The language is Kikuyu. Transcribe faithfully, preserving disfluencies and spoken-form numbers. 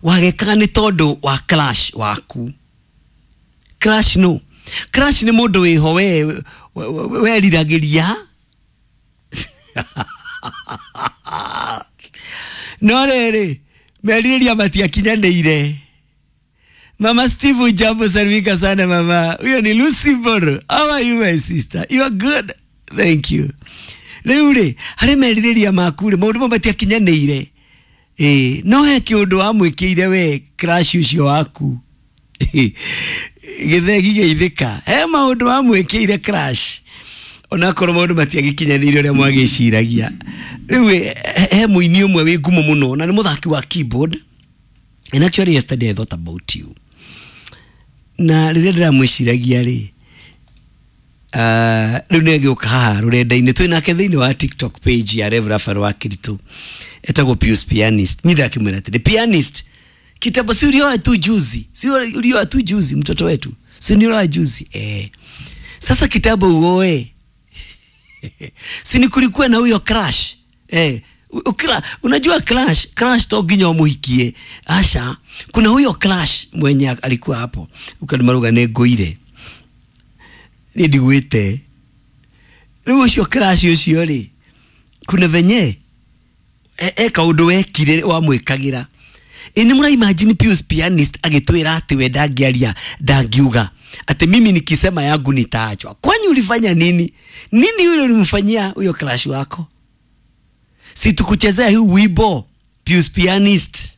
Wagekaga nĩ tondũ wa crush waku. Crush no. Crush nĩ mũndũ wĩho we weriragĩria. No rĩrĩ, merirĩria matiakinyanĩire. Mama Steve, jambo, salimika sana mama. Huyo ni Lucy Mboro. How are you my sister? You are good. Thank you. Rĩu rĩ, harĩ merirĩria maku rĩ, maũndũ mamwe matiakinyanĩire. Ĩĩ, no he kĩũndũ wamwĩkĩire we crush ũcio waku. Gĩthegi gĩithĩka. He maũndũ wamwĩkĩire crush. Onakorwo maũndũ matiagĩkinyanĩire ũrĩa mwagĩciragia. Rĩu he mũini ũmwe wĩ ngumo mũno na nĩ mũthaki wa keyboard. And actually yesterday I thought about you. Na rĩrĩa ndĩramwĩciragia rĩ, uh, rĩu nĩ agĩũka haha rũrenda-inĩ twĩ nake thĩinĩ wa TikTok page ya Rev Raphael wa Kiritu, etagwo Pius Pianist. Ni ndakĩmwĩra atĩrĩ, Pianist, kitambo si ulioa tu juzi, si ulioa tu juzi mtoto wetu, si ulioa juzi eh. Sasa kitambo uoe si ni kulikuwa na huyo crush eh. Ukira, unajua crush, crush to nginya umuhikie. Asha, kuna huyo crush mwenye alikuwa hapo. Ukanimaruga nĩ ngũire. Nĩ ndigwĩte. Rĩu ũcio crush ũcio rĩ, kuna venye e, e kaũndũ wekire wamwĩkagĩra. Ĩ nĩ mũra imagine Pius Pianist agĩtwĩra atĩ we ndangĩaria, ndangiuga ati mimi nikisema yangu nitaachwa. Kwani ulifanya nini? Nini yule ulimfanyia huyo crush wako? Si tukuchezea huu wimbo Pius Pianist.